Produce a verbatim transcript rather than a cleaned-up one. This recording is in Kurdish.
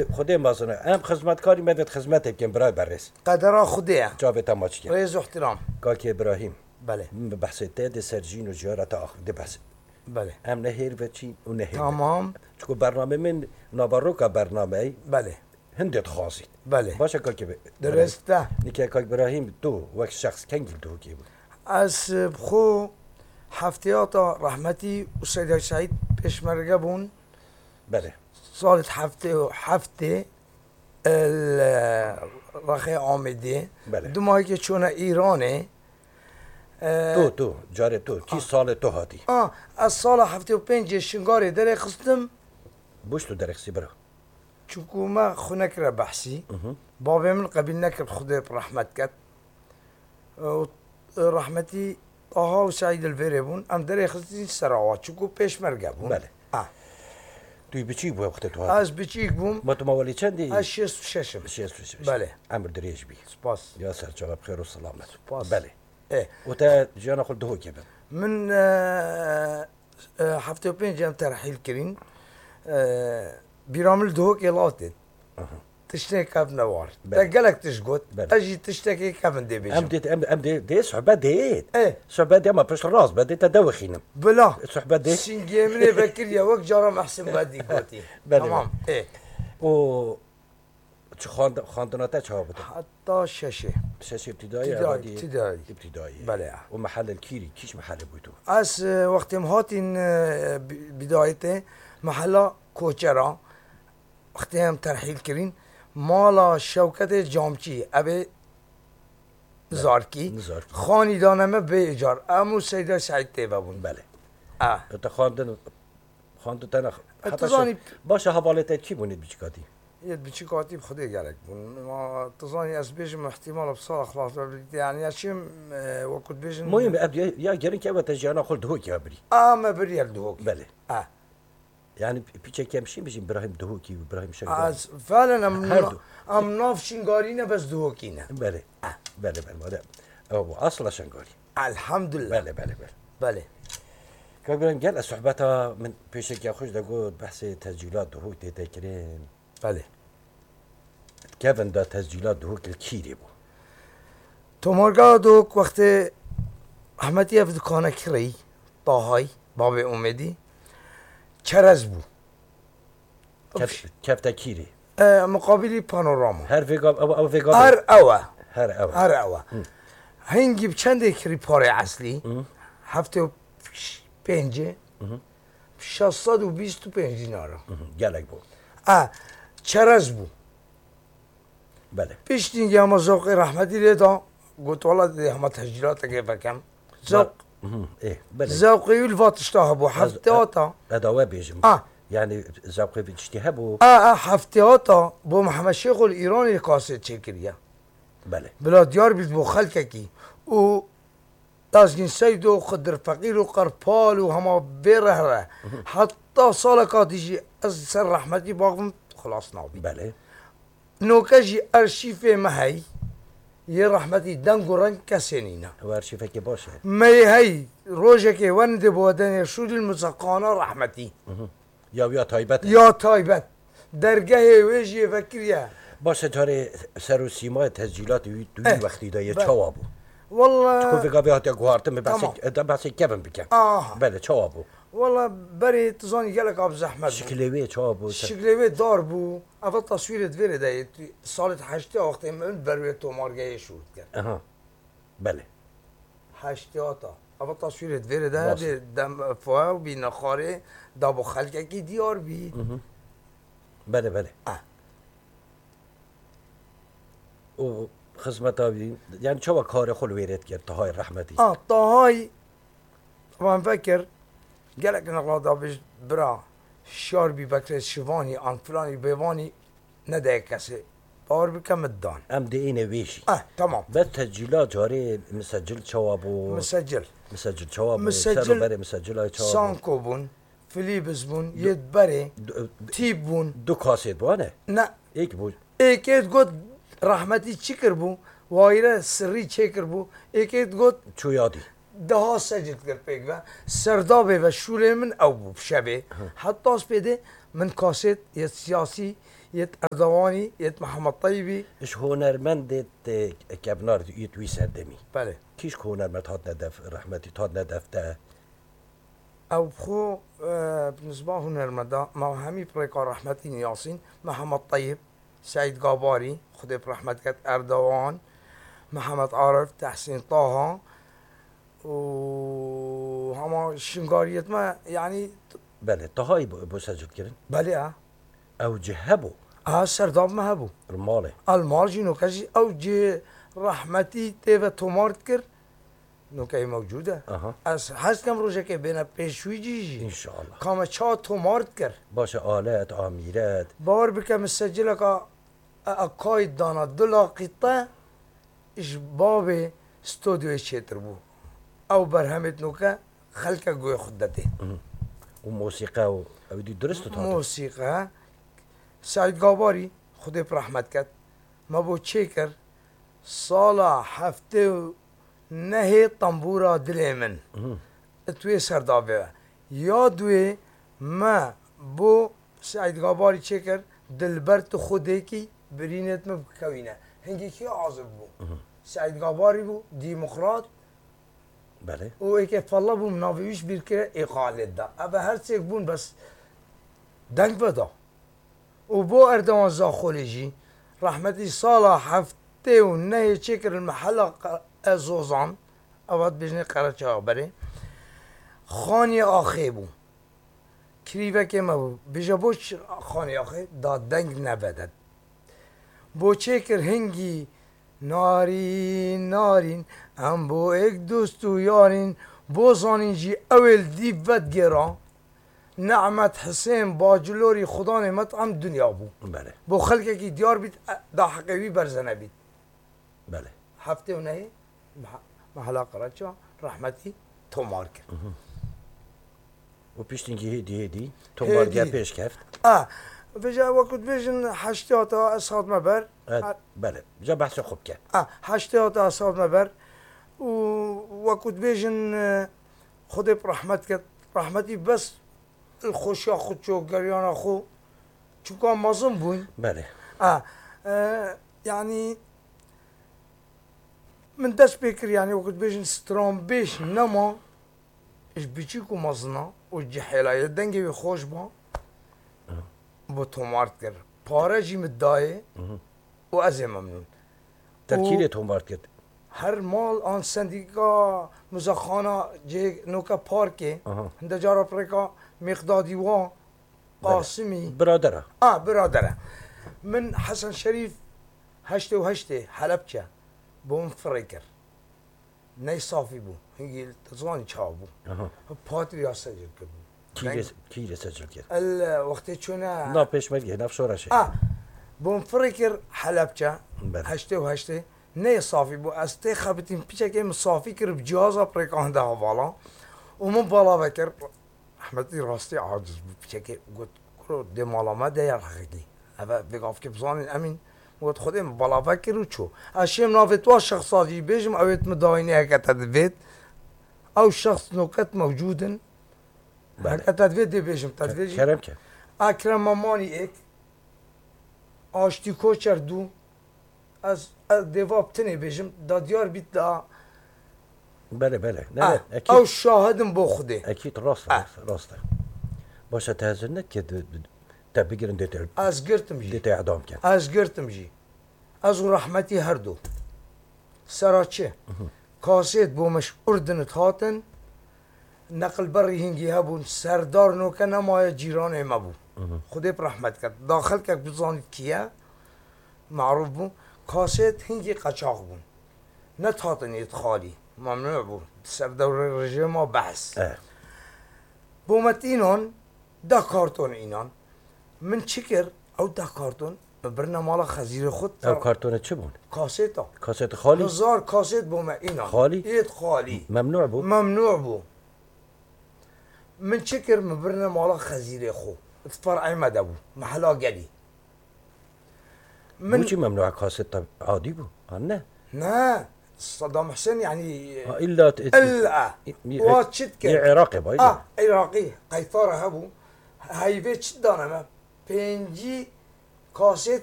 Xwedê mazin e. Em xizmetkarî me vêt xizmetê bikin, birayê berêz. Qedera Xwedê ye. Çavê te maç ke. Rêz û ihtiram. Kakê Îbrahîm. Belê. Min bi behsê te de ser jîn û jiyara te ax-, de behs. Belê. Em ne hêr veçîn û ne hêr. Tamam. Çiko bername min, naveroka bernameyê. Belê. Hindê dixwazî. Belê. Baş e, kakê be-, Dirêst e. Nike kak Îbrahîm, tu wek şexs kengî li Duhokê bû? Ez, e, bi xwe heftêya ta rehmetî û Seyda Seîd pêşmerge bûn. Belê. Salê heftê û heftê, e, li rexê Amêdê. Belê. Duma yekê çûne Îranê. E, Tu, tu, carê tu. Kî Ah. salê tu hatî? Ah, ez sala heftê û pêncê Şingalê derê xistim. Boş tu derê xistî bira. Çunku me xwe nekire behsî. Mhm. Bavê min qebîl nekir, Xwedê bi rehmet ket. Û, e, rehmetî Taha û Seîd li vêrê bûn. Em derê xistîn serawa, çunku pêşmerge bûn. Belê. Ha. Tu yî biçîk bû wextê tu hatî? Ez biçîk bûm. Ma tu mawelî çendî? Ez şêst û şeş im. Şêst û şeş. Belê. Emir dirêj bî. Spas. Ya serçava bi xêr û selamet. Spas. Belê. E. Û te jiyana xwe li Duhokê be? Min, e, e, heftê û pênc em terhîl kirîn. E, bîra min li Duhokê latê. Aha. Tiştê kevne war. Belê. Te gelek tişt got. Belê. Ez jî tiştekê kevin dê bêjim. Em dê, em, em dê, dê sohbet dê. E. Sohbet dê, ama pişt rast be, dê te de wexînim. Bila. Sohbet dê. Singê min ê vekiriye wek cara Mehsin Bedî gotî. Belê. Tamam. E. O Çi xwend-, xwendina te çawa bû? Heta şeşê. Şeşê îbtidayî, Îbtidayî, evadî îbtidayî. Îbtidayî. Belê ya. Û mehele li kîrî, kîş mehele bû tu? Ez, e, wextê em hatîn, e, bi-, bidayetê, mehela Koçera, wextê em terhîl kirîn, mala Şewketê Camçî, ev ê Nizarkî. Nizarkî. Xanî dane me bê îcar. Em û Seyda Seîd tê ve bûn. Belê. E. E, te xwendin, xwendin te ne. E, Heta tu zanî şeş-, Baş e, hevalê te kî bûn ê biçikatî? Yê biçikatî bi Xwedê gelek bûn. Ma tu zanî ez bêjim, ihtimal bi sala xilas be, yani ya çim, e, wekû dibêjin Muhîm, ev ya, ya gerin ke ev te jiyana xwe li Duhokê ve birî. A, me biriye li Duhokê. Belê. A. Yani pi-, piçek em şîn bijîn Birahîm Duhokî û Birahîm Şengalî. Az felen em Her na-, du. em nav Şingalî ne, bes Duhokî ne. Belê. A. Belê, belê, madem. Ew asla Şengalî. Elhamdülillah. Belê, belê, belê. Belê. Kak Birahîm, gel ez sohbeta min pêşeke xwe ji de got, behsê tescîlat Duhok tê te kirin. Belê. Kevin de tescîlat Duhok li kîrê bû? Tomargeha Duhok wextê rehmetî ev dukane kirî, Tahayî, bavê Umêdî, çerez bû. Kef-, kefte kîrê? E, muqabilî panorama. Her vêga, ew, ew vêga Her bê? ew e. Her ew e. Her ew e. Hı. Hingî bi çendê kirî parê eslî? Hı. Heftê û pêncê. Hı hı. Şeş sed û bîst û pênc dînar. Mhm, gelek bû. A, çerez bû. Belê. Piştî hema zewqê rehmetî lê da, got, "Wela dê hema tescîlateke vekem." Zewq, Mhm, ê, belê. zewqê wî li va tişta hebû. Ez, Heftê e, hata. ez dawe bêjim. A. Yani zewqê vî tiştî hebû. A, a, heftê hata bo Mihemed Şêxo li Îranê kasê çêkiriye. Belê. Bila diyar bît bo xelkekî. Û Dazgîn Seydo, Xidir Feqîr û Qerpal û hema vê re here. Mhm. Heta saleka dî jî ez ser rehmetî baxivim, xilas nabî. Belê. Noke jî erşîfê me hey, yê rehmetî deng û reng kesê nîne. Ew erşîfekê baş e. Me yê hey, rojekê werin dê bo denê şûdîl muzeqana rehmetî. Mhm. Ya wî ya taybet e. Ya taybet. Dergehê wê jî yê vekiriye. Baş e, carê ser û sîmayê tescîlatê wî, tu wî Eh, wextî de yê belê. çawa bû? Walla Çiko vêga vê hatiye guhartin, min Tamam. behsê, de behsê kevin bikem. Aha. Belê, çawa bû? Walla berê tu zanî gelek a bi zehmet bû. Şiklê wê çawa bû? Şiklê wê dar bû. Eva taswîrê di vêrê de yê, tu, salê heştê wextê min ber wê tomargehê şûr dikir. Aha. Belê. Heştê hata. Eva taswîrê di vêrê de Rast. dê dem foya û bî nexarê da bo xelkekî diyar bî. Mhm. Belê, belê. Ah. Û xizmeta wî, yani çawa karê xwe li wêrê dikir, Tahayê rehmetî? Ah, Tahayê, wan vekir, gelek nexla da bêj, bira, şiyar bî, Bekrê Şivanî, an filanî, bêvanî, Nedayê kesê. Bawer bike min dan. Em dê êne wê jî. Eh, tamam. Bes tescîla carê misecil çawa bû? Misecil. Misecil çawa bû? Misecil Ser û berê misecila çawa bû? Sanko bûn, Filîbis bûn, Du-, yê berê, du-, tîp bûn. Du kasêt bû, ne? Ne. Êk bû. Êkê digot, rehmetî çi kirbû? Wayîre sirrî çêkirbû. Êkê digot, Çû yadî. Daha secil kir pêk ve. Serdabê ve şûlê min ew bû şevê. Hı. Heta spêdê min kasêt yê siyasî yêt Erdewanî, yêt Mihemed Teyibî. Ji hunermendê te kevnar yêt wî serdemî. Belê. Kî ji hunermend hatine def, rehmetî hatine def te? Ew bi xwe, e, bi nisba hunermenda, me hemî bi rêka rehmetî niyasîn, Mihemed Teyib, Seîd Gabarî, Xwedê bi rehmet ket, Erdewan, Mihemed Arif, Tehsîn Taha û hema şingariyêt me, yanî. Belê, Tahayî bû, bû secil kirin? Belê, e. Ew cih hebû? A, serdab me hebû. Li malê? A, li mal jî noke jî ew cih rehmetî tê ve tomar dikir. Nokeyê mewcûd e. Aha. Ez hez dikim rojekê bêne pêş wî cî jî. Înşallah. Ka me ça tomar dikir. Baş e, alet, amîret. Bawer bike, min secileka e, e, kayt dana du laqîte ji bavê stûdyoyê çêtir bû. Ew berhemêt noke xelke guhê xwe didê. Mhm. Û mosîqe û ew dî durist û tadir. Mosîqe. Seîd Gabarî, Xwedê bi rehmet ket, me bo çêkir, sala heftê û nehê Tembûra Dilê Min. Mhm. It wê serdabê ve. Ya duê me bo Seîd Gabarî çêkir, Dilber tu xwedêkî birînêt min bikewîne. Hingî kî azib bû? Mhm. Seîd Gabarî bû, demokrat. Belê. Û êkê fella bû, min navê wî ji bîr kire, ê xalê da. Ev her sêk bûn, bes deng veda. Û bo Erdewan Zaxolê jî, rehmetî sala heftê û nehê çêkirin mehela Qe-, Ezozan, ev hat bêjinê Qereçaxa berê, Xaniyê Axê bû. Kirîvekê me bû. Bêje bo çi Xaniyê Axê? Da deng nevedet. Bo çêkir hingî narîn, narîn, em bo êk dost û yarîn, bo zanîn jî ew ê li dîv vedigêra. Nehmet Hisên Bacilorî Xudanê me em dinya bû. Belê. Bo xelkekî diyar bît, e, da heqê wî berze nebît. Belê. Heftê û nehê meha-, mehela Qereça rehmetî tomar kir. Mhm. Û piştî hêdî hêdî tomar diye pêş keft. A, vêca wekû dibêjin heştê hata ez hatime ber. Evet, belê. Ca behsê xwe bike. A, heştê hata ez hatime ber. Û wekû dibêjin, e, Xwedê bi rehmet ket. Rehmetî bes li xweşiya xwe çû, geriyana xwe. Çunka mezin bûn. Belê. A, e, yanî min dest pê kir, yanî wekû dibêjin stranbêj nema ji biçûk û mezina û cihêla ye dengê wê xweş ba, bo tomar dikir. Pare jî min dayê û ez ê memnûn. Te kî lê tomar dikir? Her mal an sendîka muzexana cihê noke parkê, hinde cara pirêka Mêqdadî wa, Qasimî. Biradera. A, biradera. Min Hesen Şerîf heştê û heştê Helebçe bo min firê kir. Ney safî bû. Hingî tu zanî çawa bû. Aha. Patrîya secil kirbû. Kî lê, kî lê secil kir? El, e, wextê çûne. Na pêşmerge, nav şoreşê. A, bûm firê kir Helebçe. Belê. Heştê û heştê. Ney safî bû. Ez tê xebitîm piçekê min safî kir bi cihaza pirêkan de hevala. Û min bala vekir. Ehmetî rastî aciz bû. Piçekê got, "Kuro dê mala me de ya rexekî." Eve vê gavkê bizanîn Emîn. Got, "Xwedê min bala vekir û çû." Ez şêm navê twa şexsa jî bêjim, ew ê min dayînê heke te divêt. Ew şexs noket mewcûd in. Belê. Heke te divêt dê bêjim, te divêt jî. Kerem ke. Ekrem Memanî êk. Aştî Koçer dû. Ez, ez dê va bi tinê bêjim, da diyar bît da. Belê, belê. Ne, ah, ne, ekîd. Ew şahid in bo Xwedê. Ekîd, rast e, ah, rast e. Baş e, te hezir neke di, di, te bigirin dê te, ez girtim jî, dê te edam ken. Ez girtim jî. Ez û rehmetî her du. Sera çi? Mhm. Kasêt bo me ji Urdinit hatin. Neqilberî hingî hebûn. Serdar noke nemaye cîranê me bû. Mhm. Xwedê bi rehmet ket. Da xelkek bizanît kî ye. Marûf bû. Kasêt hingî qeçax bûn. Ne hatin yêt xalî. Memnû bû. Ser dewrê rejîma behs. Eh. Bo me înan, deh karton înan. Min çi kir? Ew deh karton min birine mala xezîrê xwe. Ew kartone çi bûn? Kasêta. Kasêt xalî? Hezar kasêt bo me înan. Xalî? Yêt xalî. Memnû bû? Memnû bû. Min çi kir? Min birine mala xezîrê xwe. Di fer'ê me de bû. Mehela Gelî. Min... Boçî memnû e, kaseta adî bû? Ha, ne? Ne. Saddam Husên, yanî, ha, illa t-, illa. Wa çi dikir? Yê Iraqê bay. Ah, Iraqî, qeytara hebû. Heyvê çi dane me? Pêncî Qasê